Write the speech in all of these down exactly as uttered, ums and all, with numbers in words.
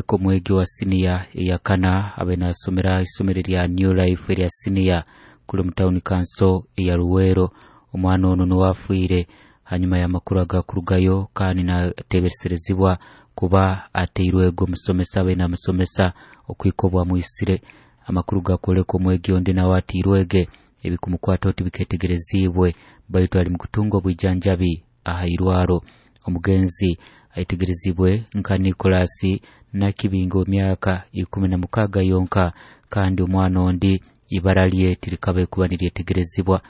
Omwegi wa siniya eyakana abe nasomera isomero lya New Life erya siniya kuli mu town council eya Luweero. Omwana ono niwe afiire hanyuma y'amakuru agakurugayo, kandi natebereserezibwa kuba ateirwego omusomesa abe namusomesa okwika obwamwisire. Amakuru gakwoleka omwegi ondi nawe atiirwege, ebikumukwata oti biketegerezibwe, baitu ali mukutunga obwijanjabi aha irwaro. Omugenzi aitegerezibwe nka Nicholas Nakibinga, emyaka ikumi na mukaaga yonka, kandi omwana ondi ibara lye tirikabe kuba niryetegerezibwa.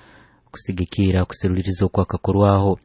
Kusigikira kuseruliriza okwakakorwaho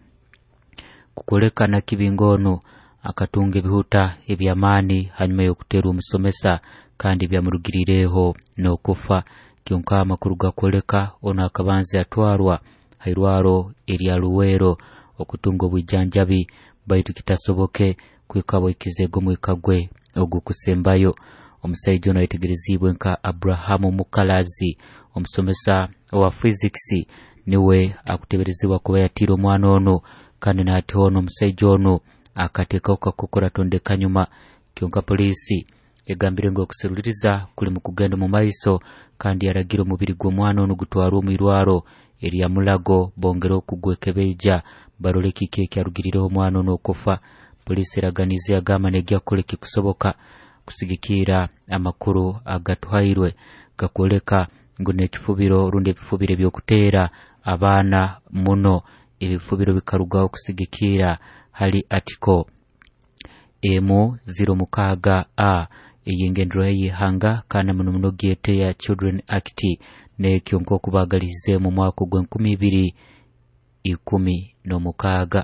kukoleka Nakibinga ono akatunga ebihuta eby'amaani hanyuma y'okuteerwa omusomesa, kandi byamurugirireho n'okufa. Kyonka amakuru gakwoleka ono akabanza atwarwa hairwaro erya Luweero okutunga obwijanjabi, baitu kitasoboke kwika bwikizego omwika gwe ogukusembayo. Omusaija ono ayetegerezibwe nka Abrahamu Mukalazi, omusomesa owa physics, niwe akuteberezibwa kuba yatiire omwana ono, kandi nahati ono omusaija ono akateekaho kakokora tondeka nyuma. Kyonka poliisi egambire ngu okuseruliriza kuli mu kugenda mu maiso, kandi yaragira omubiri gw'omwana ono gutwarwe omu irwaro erya Mulago bongere okugwekebeija barole kiki ekyarugirireho omwana ono okufa. Poliisi eraganize yagamba negya kukora ekikusoboka kusigikira amakuru agatuhairwe gakwoleka ngu n'ekifubiro rundi ebifubiro ebyokuteera abaana muno, ebifubiro bikarugaho kusigikira hali article emu ziro mukaaga a ey'engendero y'ihanga, kandi muno muno gyete ya Children Act, n'ekyo nk'oku baagalihize mu mwaka ogw'enkumi ibiri ikumi n'omukaaga.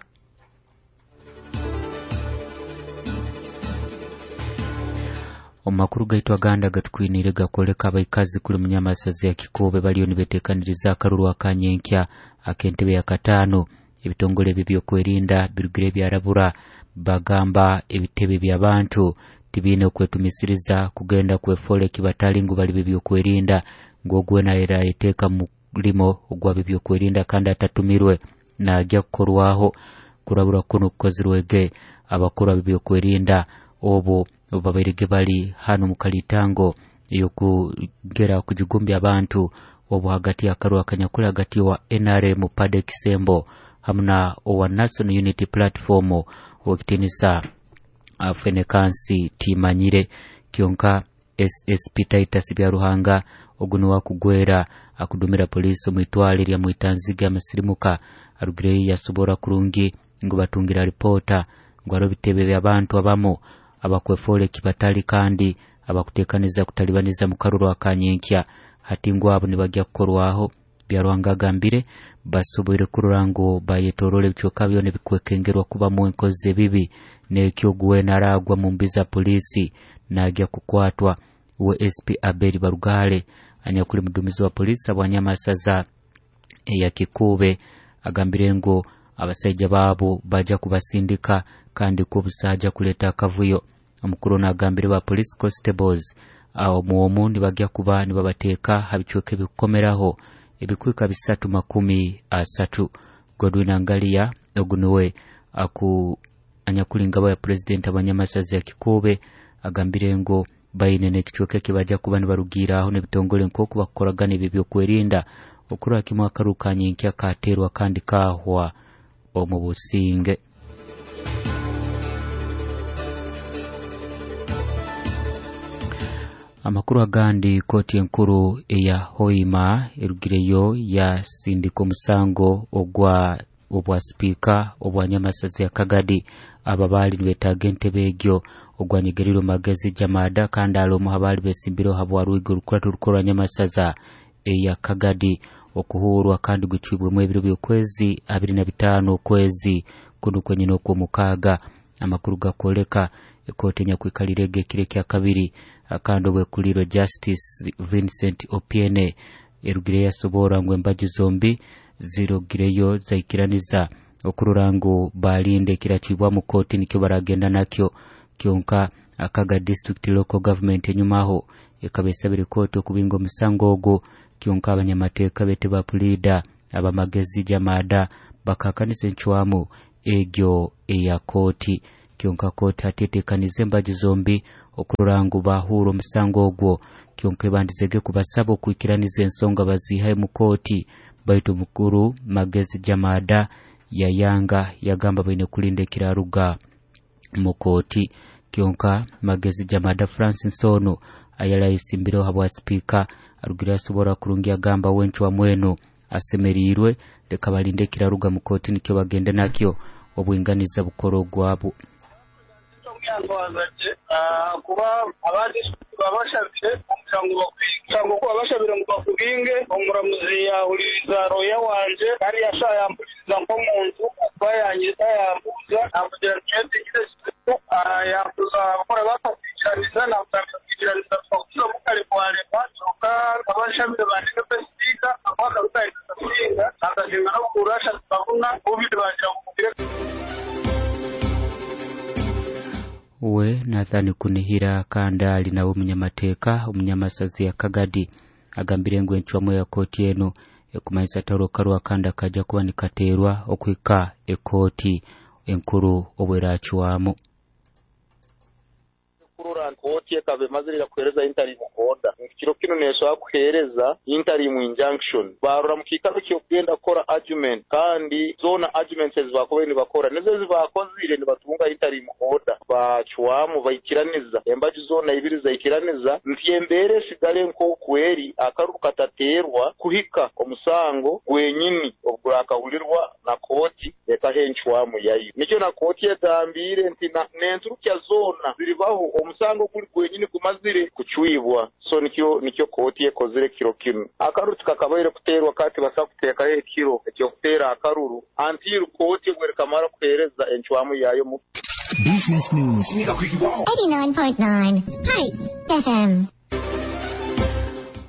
Omu makuru gaitu agandi agatukwiniire gakwoleka abaikazi kuli munyamasazi ya Kikuube baliyo nibeteekaniriza akaruru akanyenkya ak'entebe ya kataano. Ebitongole ebyo ebyokwerinda birugire byarabura, bagamba ebitebe by'abantu tibiine okwetumisiriza kugenda kwefoora ekibatali ngu bali b'ebyokwerinda, ngu ogwe nayeteeka mu mulimo ogwa b'ebyokwerinda kandi atatumirwe naagya kukorwaho. Kurabura kuno kukozirwege abakuru ab'ebyokwerinda obu obu babairege bali hano mu kalitango ey'okugera kujigumbya abantu obu hagati y'akaruru akanyakuli hagati wa N R M Pade Kisembo hamu na owa National Unity Platform ow'ekitiinisa Fenekansi Timanyire. Kyonka S S P Titus Byaruhanga ogu niwe akugwera akudumira poliisi omu itwale erya Mwitanziga amasirimuka arugireyo yasobora kurungi ngu batungira ripoota ngu hariho ebitebe by'abantu abamu abakwefoora ekibatali kandi abakuteekaniza kutalibaniza mu karuru akanyenkya, hati ngu abo nibagya kukorwaho. Byaruhanga agambire basoboire kurora ngu bayetoroora ebicweka byona ebikwekengerwa kubamu enkozi ebibi, n'ekyo ogu weena aragwa mu mbi za poliisi naagya kukwatwa. We S P Abeli Barugale anyakuli mudumizi wa poliisi abwanyamasaza eya Kikuube agambire ngu abasaija baabo baja kubasindika kandi kubusaja kuleta akavuyo. Omukuru ono agambire ba police constables omwomu nibagya kuba nibabateeka ha bicweka ebikukomeraho ebikwika bisatu makumi asatu. Godwin Angalia ogu niwe aku anyakuli ngabo ya president abanyamasazi ya Kikuube agambire ngu baine n'ekicweka ekibaja kuba nibarugiiraho n'ebitongole nk'oku bakukoragana ebyo ebyokwerinda okurora kimwe akaru kanyenkya kateerwa kandi kahwa omu businge. Amakuru agandi, kooti enkuru eya Hoima erugireyo yasindika omusango ogwa obwa sipiika obwa Nyamasazi ya Kagadi aba baali nibetaaga entebe egyo ogwanyegerirwe Magezi Jamada, kandi ali omu abaali besimbireho habwa rwigo rukuratu rukorwa Nyamasaza eya Kagadi okuhuurwa kandi gucwibwemu ebiro by'okwezi abiri na bitaano okwezi kuno kwenyine okw'omukaaga. Amakuru gakwoleka ekooti enyakwikalire ege ekiro ekya kabiri kandi obwekulirwe Justice Vincent Opiene erugire yasobora ngu embaju zombi zirugireyo zaikiraniza okurora ngu balinde ekiracwibwamu kooti nikyo baragenda nakyo. Kyonka Akaga District Local Government enyumaho ekaba esabire kooti okubinga omusango ogwo, kyonka abanyamateeka bete ba pulida abamagezi Jamada bakakanisa encwamu egyo eya kooti. Kyonka kooti hati eteekanize embaju zombi okurora ngu bahuura omusango ogwo. Kyonka ebandizege kubasaba okwikiraniza ensonga bazihayo mu kooti, baitu mukuru Magezi Jamada yayanga yagamba baine kulinda ekiraruga mu kooti. Kyonka Magezi Jamada Francis Ono ayali ayesimbireho habwa sipiika arugire asobora kurungi agamba wencwa mwenu asemerirwe, leka balinde ekiraruga mu kooti nikyo bagende nakyo obwinganiza bukoro gwabo. Kuba abandi babashabire omusango bakubinge kuba babashabire ngu bakubinge, omuramuzi yahuliriza roya wanje kandi yampuliriza nk'omuntu kuba yanyita yambuuza namugira nti yambuuza abakora bakakwikiraniza namugambira kwikiraniza tukakuzamu kare kwarema kyonka abashabire bandike sipiika akwakaruka kasinga akasinga n'obukuru ashatu babuna bubiri bagira bukubire. We Nathan Kunihira kandi nawe omunyamateeka omunyamasazi ya Kagadi agambire ngu encwamu ya kooti eno ekumanyisa taro karwa kandi akajja kuba nikateerwa okwika ekooti enkuru obweracwamu. Kurora kooti ekaba emazire kuhereza interim order kiro kino nesobola kuhereza interim injunction barora mu kiikaro ky'okugenda kukora argument kandi zona arguments ezibakubaire nibakora nizo ezibakozire nibatunga interim order bacwamu baikiraniza embaju zona ibiri zaikiraniza nti embeera esigale nk'okweri akaruru katateerwa kuhika omusango gwenyini ogurakahulirwa na kooti ekaha encwamu yayo. Nikyo na kooti egambire nti n'enturukya zona ziribaho omusango guli gwenyini gumazire kucwibwa. So nikyo nikyo kooti ekozire kiro kinu. Akaruru tikakabaire kuteerwa kati basa kuteekayo ekiro ekyokuteera akaruru until kooti bwerikamara kuheereza encwamu yayo mu Business News eighty-nine point nine Spice F M.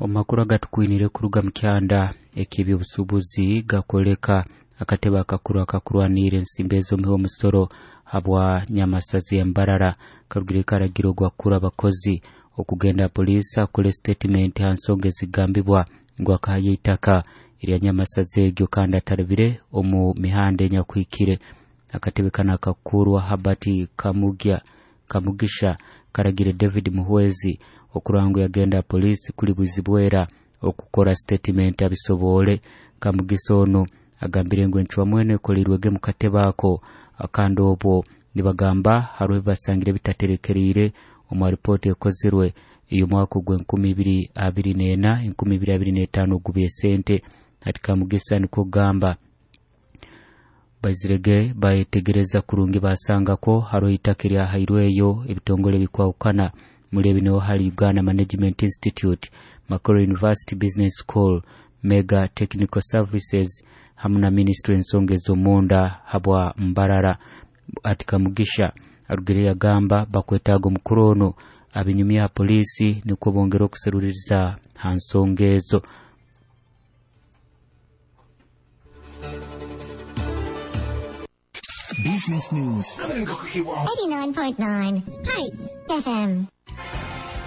Omakuru agatukwinire kuruga mu kyanda eky'ebyobusuubuzi gakoleka akatebe akakuru akakurwanira ensimbi ez'omuhi omusoro habwa Nyamasazi ya Mbarara karugire karagiro gwakura abakozi okugenda polisi akole statement ha nsonga ezigambibwa ngu akahayo itaka erya Nyamasazi egyo kandi atarabire omu mihanda enyakwikire. Akatebe kano akakurwa Habert Kamugya Kamugisha karagire David Muhwezi okurangu yagenda polisi kuli Bwizibwera okukora statement abisobole. Kamugisa ono agambire ngu encwamu eno ekolirwege mu katebe ako akandi obwo nibagamba hariho ebibasangire bitaterekereire omu ripooti ekozirwe ey'omwaka ogw'enkumi ibiri abiri n'ena enkumi ibiri abiri n'etaano ogubye sente. Ati Kamugisa nikwo kugamba baizirege bayetegereza kurungi basangako hariho itaka eryahairweyo ebitongole bikwahukana muri ebi niho hari Uganda Management Institute, Makerere University Business School, Mega Technical Services hamwe na Ministry ensonga ez'omunda habwa Mbarara. Ati Kamugisha arugire yagamba bakwetaaga omukuru ono abinyumya ha polisi nikwo bongera okuseruliriza ha nsonga ezo. Business News eighty-nine point nine Spice F M.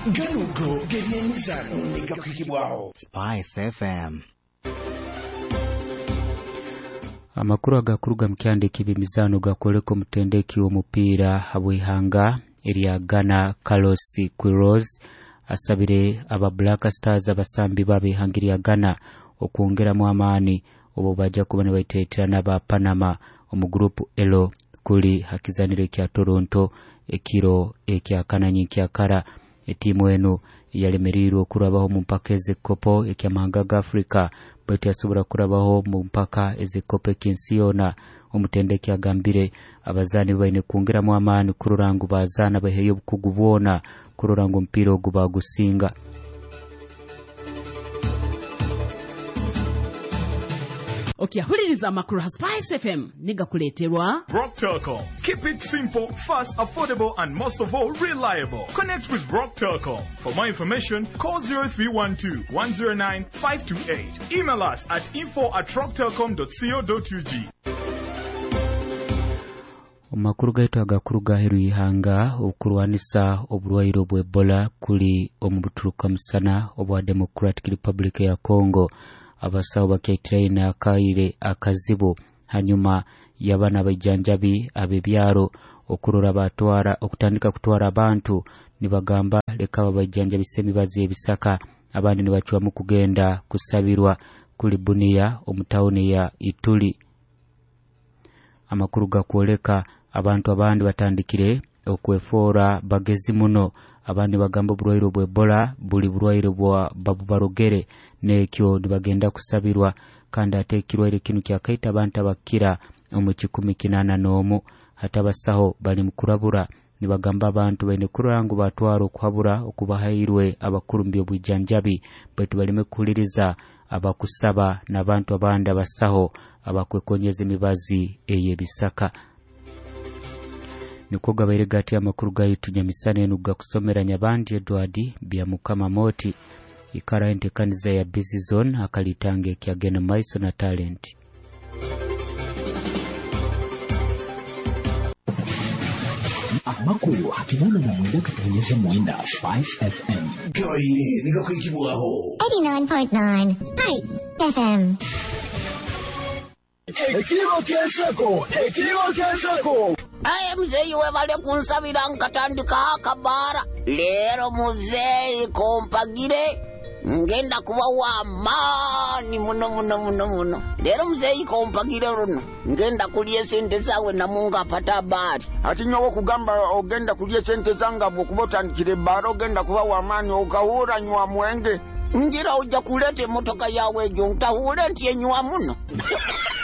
Ganugo g'ebyemizano negakwikibwaho Spice F M. Amakuru agakuruga mu kyanda eky'ebyemizano gakoleka omutendeki w'omupiira habw'ihanga erya Ghana Carlos Queiroz asabire aba Black Stars abasambi b'ab'ihanga erya Ghana okwongeramu amaani obo bajja kuba nibaiteetera n'aba Panama omu gurupu L kuli hakizanire kya Toronto ekiro ekyakananyi kyakara. Etiimu eno yalemereirwe okurabaho mu mpaka ez'ekikopo eky'amahanga ga Afrika baitu yasobora kurabaho mu mpaka ez'ekikopo eky'ensi yoona. Omutendeki agambire abazaani baine kwongeramu amaani kurora ngu bazaana baheyo obukugu bwona kurora ngu omupiira ogu bagusinga. Okyahuliriza amakuru ha Spice F M nigakuleeterwa Rock Telcom. Keep it simple, fast, affordable and most of all reliable. Connect with Rock Telcom. For more information, call zero three one two, one zero nine, five two eight. Email us at info at rocktelcom dot co dot U G. Omakuru gaitu agakuru gaheru ihanga okurwanisa oburwaire obw'Ebola kuli omu buturuka musana obwa Democratic Republic ya Congo. Abasawo bakyaitiraine akaire akazibu hanyuma y'abaana abaijanjabi ab'ebyaro Okurora batwara okutandika kutwara abantu nibagamba leka babaijanjabisa emibazi ebisaka, abandi nibacwamu kugenda kusabirwa kuli Bunia omu tawuni ya Ituri. Amakuru gakwoleka abantu abandi batandikire okwefoora bagezi muno, abandi bagamba oburwaire obwa Ebola buli burwaire bwa babubarogere nekyo nibagenda kusabirwa, kandi ate ekirwaire kinu kyakaita abantu abakira omu kikumi kinana n'omu. Hati abasaho bali mukurabura nibagamba abantu baine kurora ngu batwara okuhabura okubahairwe abakuru mu by'obwijanjabi, baitu baleme kuhuliriza abakusaba n'abantu abandi abasaho abakwekonyeza emibazi ey'ebisaka. Nikwo gabaire gati amakuru gaitu nyamisana enu gakusomera Nyabandi Edward Byamukama Moti. Ikara entekaniza ya Busy Zone akalitange kyagenda maiso na talent. Amakuru hakinana na mwenda katonyeza mwenda Spice F M. Gabaire nigakwikibwaho. eighty-nine point nine Spice F M. Ekiro ky'enseko, ekiro ky'enseko. Aye muzeeyi webale kunsabira nkatandika akabaara. Leero muzeeyi kompagire ngenda kuba wa maani muno muno muno muno. Leero muzeeyi kompagire luno ngenda kulya esente zaawe namunga apata abaali. Ati nyowe okugamba ogenda kulya esente zange bw'okuba otandikire ebbaala ogenda kuba wa maani okahura nywa mwenge. Ngira ojja kuleeta emmotoka yawe egyo ntahuule nti enywa muno.